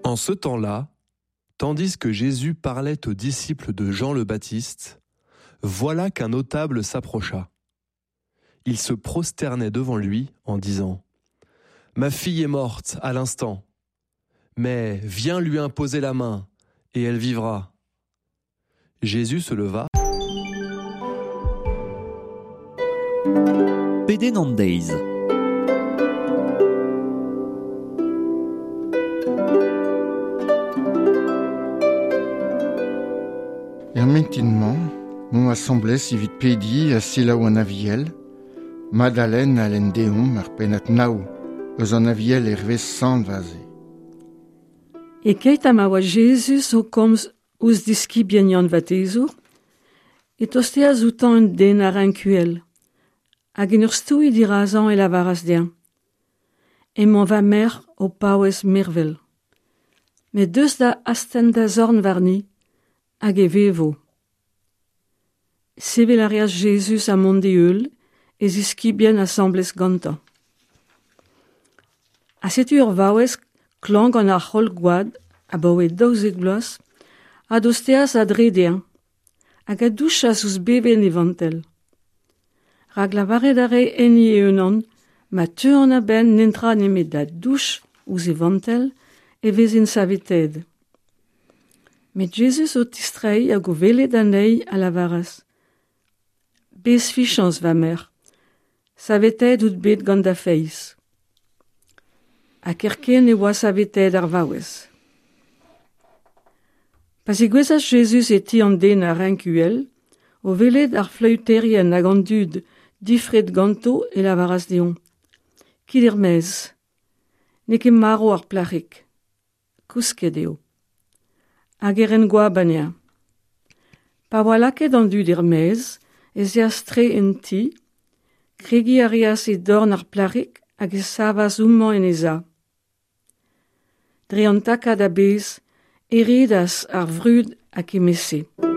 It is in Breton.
En ce temps-là, tandis que Jésus parlait aux disciples de Jean le Baptiste, voilà qu'un notable s'approcha. Il se prosternait devant lui en disant Ma fille est morte à l'instant, mais viens lui imposer la main, et elle vivra. Jésus se leva. Pedenn an deiz. Er mintin-mañ, 'momp asambles evit pediñ ha selaou an Aviel, Madalen a lenn deomp ar pennad nav eus an Aviel hervez Sant Vaze. E-keit ha ma oa Jezuz o komz ouzh diskibien Yann Vadezour, e tosteas outañ un den a renk uhel, hag en ur stouiñ dirazañ e lavaras dezhañ: Emañ va merc'h o paouez mervel. Met deus da astenn da zorn warni, hag e vevo. Sevel a reas Jezuz ha mont d'e heul, e ziskibien asambles gantañ. Ha setu ur vaouez klañv gant ar c'holl-gwad abaoe 12 vloaz, a dosteas a-dre dezhañ hag a douchas ouzh bevenn e vantell. Rak lavaret a rae enni e-unan, ma teuan a-benn netra nemet da douch ouzh e vantell, e vezin saveteet. Met Jezuz o tistreiñ hag o welet anezhi a lavaras: Bez fichañs, va merc'h, saveteet out bet gant da feiz. Ha kerkent e oa saveteet ar vaouez. Pa zegouezhas Jezuz e ti an den a renk uhel, o welet ar fleüterien hag an dud difret ganto e lavaras dezhañ: Kit er-maez, n'eo ket marv ar plac'hig, kousket eo. Hag e ren goap anezhañ. Pa oa lakaet an dud er-maez ez eas tre en ti, kregiñ a reas e dorn ar plac'hig hag e savas homañ en he sav. Dre an takad a-bezh e redas ar vrud a kement-se.